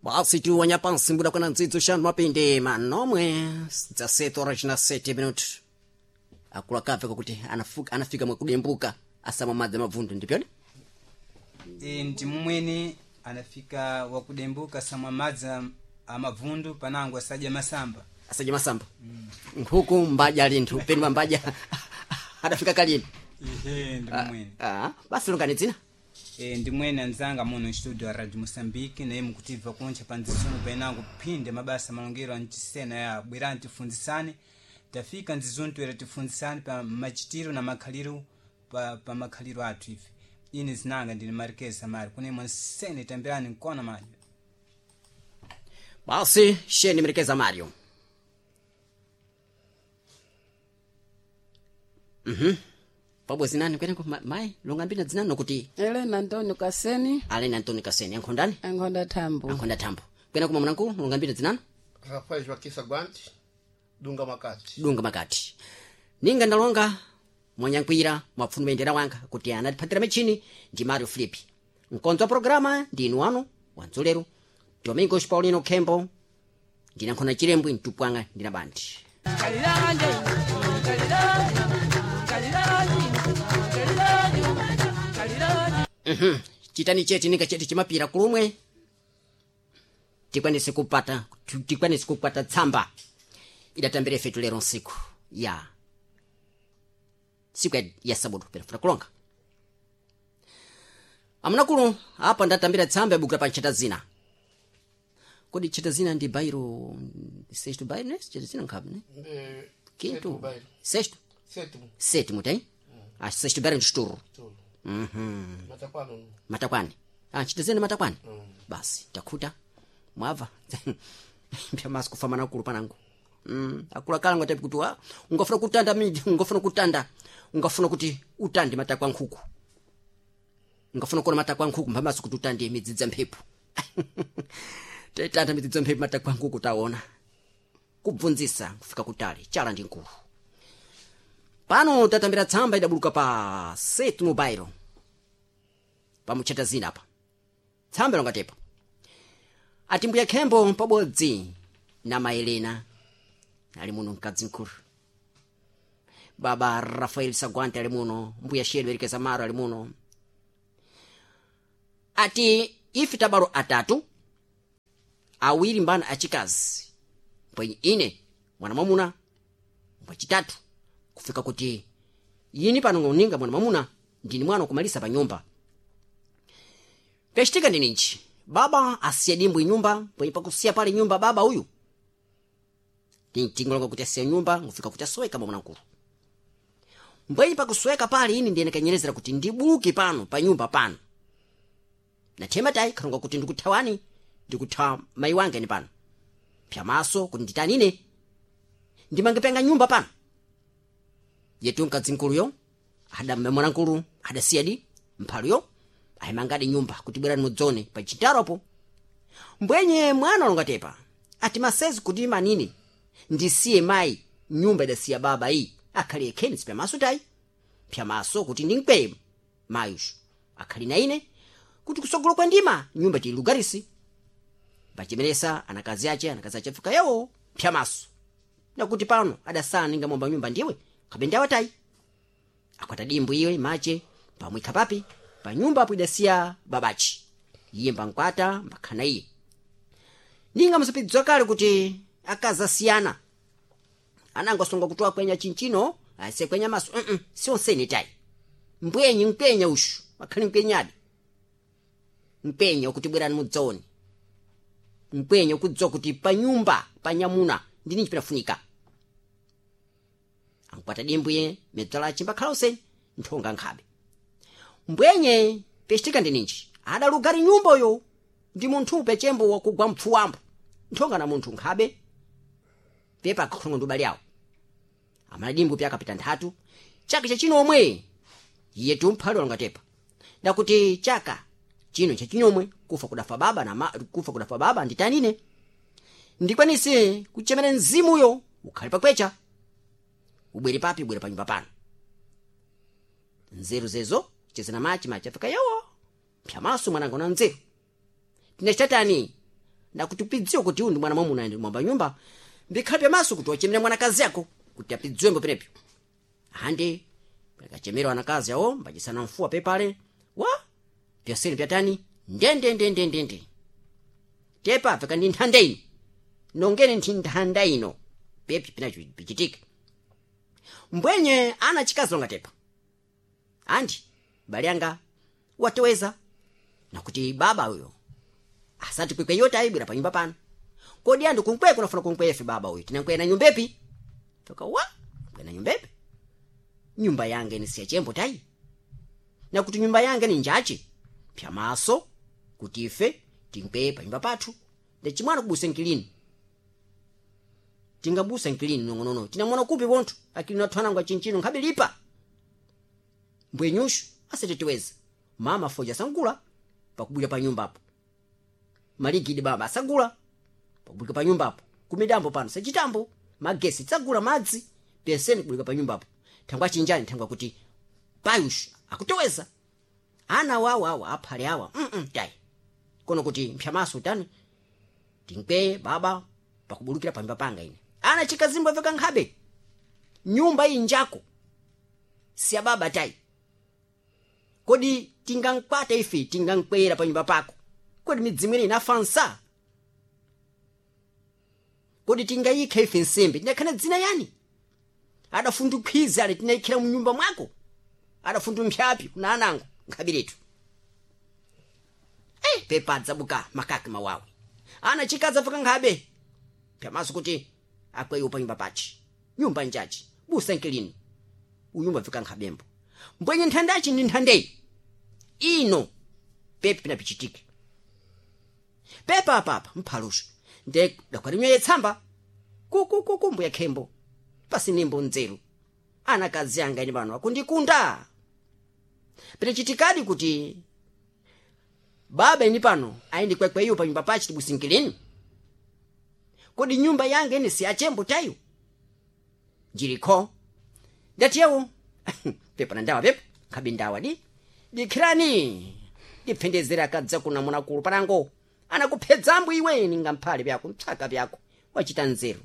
Basi tu wanyapansi mbuda kuna ndzidzo xanu mapinde manomwe dza 7 horas na 7 minutos. Akula kafe kuti anafika mwakudembuka asama madzi mabvundu ndipyoni. E, ndi mumwene anafika wakudembuka samwa madzi amabvundu panango asadya masamba. Asadya masamba. Nkhuku mbaja linthu peni mbaja adafika kalini. Ehe, ndi mumwene. Basi lungani dzina. E, ndi mwene anzanga muno studio ya Radio Mosambiki naye mukutibva kuncha pa ndzizunu penango phinde mabasa malongero ancisena ya bwerani tifunzisane. Tafika ndzizunu toera tifunzisane pa machitiro na makhaliro pa makhaliro athu ife. Ine zinanga ndine Marquez Samari kunemwe nsene tambirani nkona majo. Basi sheni Marquez Mario. Pabwe zinani kweneko mai lungambina dzinani nokuti Elena Antonio Kaseni. Elena Antonio Kaseni ankhondani? Ankhonda Thambo. Ankhonda Thambo. Kwena kuma mwanangu lungambina dzinani? Rafael Joaquim Saguante, Dunga Makati. Dunga Makati. Ninga ndalonga mwanyankwira mwapfunu bendera wanga kuti anatiphatira michini ndi Mario Filipi. Mkonzo wa programa ndi inu wanu wanzolero Domingos Paulino Kembo ndinankhona Chilembwe mtupwanga ndina bandi. Chitani cheti ninga cheti chimapira kulumwe tikwanise kupata tikwanise kukwata tsamba idatambire fetu lero nsiku ya siku ya sabudu perafuna kulonga amunakulu apa ndatambira tsamba yabukira pa ntchata zina. Kodi ntchata zina ndi bairo sexto bairo ne ntchata zina nkhabe ne quinto sexto Sétimo. Sétimo tem? Sexto bairo ndi chituru. Matakwani. Matakwani. Ntchata zina matakwani. Basi takhuta mwabva mpya kufa manakulu panangu. Akulu akala ngati kuti ungafuna kutanda miji, ungafuna kutanda, ungafuna kuti utande matakwa nkhuku. Ungafuna kuona matakwa nkhuku mphamasi kuti utande midzidza mphepo. Tetanda midzidza mphepo matakwa nkhuku taona. Kubvunzisa kufika kutali chala ndi nkulu. Pano tatambira tsamba idabuluka pa Setu Mobile. Pamuchata zina apa. Tsamba longatepa. Ati mbuya Khembo pabodzi na Maelena ali muno mkadzi mkulu. Baba Rafael Saguante ali muno, mbuya Shelo Erike Samaro ali muno. Ati ife tabalo atatu awiri mbana achikazi mpwenye ine mwana mwamuna mpwechitatu kufika kuti yini pano ngoninga mwana mwamuna ndini mwana kumalisa pa nyumba. Pechitika ndi ninji baba asiya dimbwi nyumba mpwenye pakusiya pale nyumba baba uyu tingolonga kuti asiya nyumba ngufika kuti asoweka mwa mwanamkulu. Mbwenye pakusweka pale ini ndiye nikanyerezera kuti ndibuke pano pa nyumba pano. Nathema tayi khalonga kuti ndikuthawani ndikuthawa mayi wange ni pano. Pyamaso kuti nditanine ndimangepenga nyumba pano. Yetu mkadzi mkuluyo ada mwanamkulu adasiyadi mphaluyo ayimangadi nyumba kuti bwerani mudzone pa chitaropo. Mbwenye mwana alongatepa ati masezi kuti manini ndisiye mayi nyumba idasiya baba iyi akhali ekheni sipyamaso tayi pyamaso kuti ndinkweye mayushu akhali na ine kuti kusogolo kwa ndima nyumba tilugarisi. Pachimeresa anakazi ache afika yawo pyamaso nakuti pano adasana ninga momba nyumba ndiwe kapenda watayi akwata dimbu iwe mache pamwikha papi pa nyumba apo idasiya babachi iye mbankwata mbakhana iye ninga musapidzwa kale kuti akazasiyana anango asonga kutoa kwenya chinchino asiye kwenya maso sionsene tayi mbwenyi mkwenya ushu akhali mkwenyadi mkwenya ukuti bwerani mudzaone mkwenya ukudziwa kuti pa nyumba pa nyamuna ndini chipinafunika ankwata dimbwiye medzala achimbakhala useni nthonga nkhabe mbwenye pechitika ndininji adalugari nyumbayo ndi munthu pechembo wakugwa mpfuwambo nthonga na munthu nkhabe pepa akakhulunga ndi ubale awo amadimbu pya akapita nthatu chaka chachino omwe iye tumphali walongatepa ndakuti chaka chino chachinomwe kufa kudafa baba na kufa kudafa baba nditanine ndikwanise kuchemera mzimuyo ukhale pakwecha ubwere papi ubwere panyumba pano nzeru zezo chezana machi machi afika yawo pyamaso mwananga una nzeru tinachitatani Nakuti upidziwe kuti uyu ndi mwana mwamuna ndi mwamba nyumba, mbikhale pyamaso kuti wachemera mwanakazi yako kuti apidziwembo penepyo. Andi akachemera wanakazi awo mbachisana mfuwa pepale wa pyaseni pyatani ndendendendendende tepa peka ndi nthanda ino nongene nthi nthanda ino pepi pinacho pichitike. Mbwenye ana chikazonga tepa andi bale anga watoweza nakuti baba uyo asati kwikwe yoti ayibwera panyumba pano. Kodi andu kunkweko unafuna kunkwefe baba uyu tinankwena nyumbepi toka wa kwena nyumbepi nyumba yange ni siyachembo tayi nakuti nyumba yange ni njachi pyamaso kuti ife tinkweye panyumba pathu ndechimwana kubusa nkilini tingabusa nkilini nong'onono tinamwana kupi wonthu akili nathwanangwa chinchino nkhabe lipa mbwenyushu asatetiweza mama foja sangula pakubwira pa nyumbapo maligidi baba asagula pakubwira pa nyumbapo kumidambo pano sachitambo magesi tsagula madzi peseni kubwira pa nyumbapo thangwa chinjani thangwa kuti payushu akutoweza ana wawo awa aphale awa tayi kono kuti mphyamaso tani tinkweye baba pakubulukira panyumba panga ine ana chikazimbwa veka nkhabe nyumba iyi njako siya baba tayi kodi tingankwata ife tingankwera panyumba pako kodi midzimu ine inafansa kodi tingayikha ife nsembe tinakhana dzina yani adafundukhwiza ale tinayikhira munyumba mwako adafundu mpyapi kuna anango nkhabiretu pepa adzabuka makaki mawawi ana chikadza paka nkhabe pyamaso kuti akweyo panyumba pachi nyumba njachi busa nkilini unyumba fika nkhabembo mbwenye nthandachi ndi nthandeyi ino pepi pinapichitike pepa apapa mphaluso nde dakwalimya tsamba kukukuku mbuya khembo pasinimbo nzeru anakazi anga ine pano akundikunda pinachitikadi kuti baba ini pano ayindi kwekwe pa nyumba pachi tibusinkilini kodi nyumba yange ine siyachembo tayo njilikho ndatiyewo pepa na ndawa pepa nkhabe ndawa di dikhirani diphendezera akadza kuna munakulu panango anakuphedzambo iwe ninga mphale pyako mtsaka pyako wachita nzeru.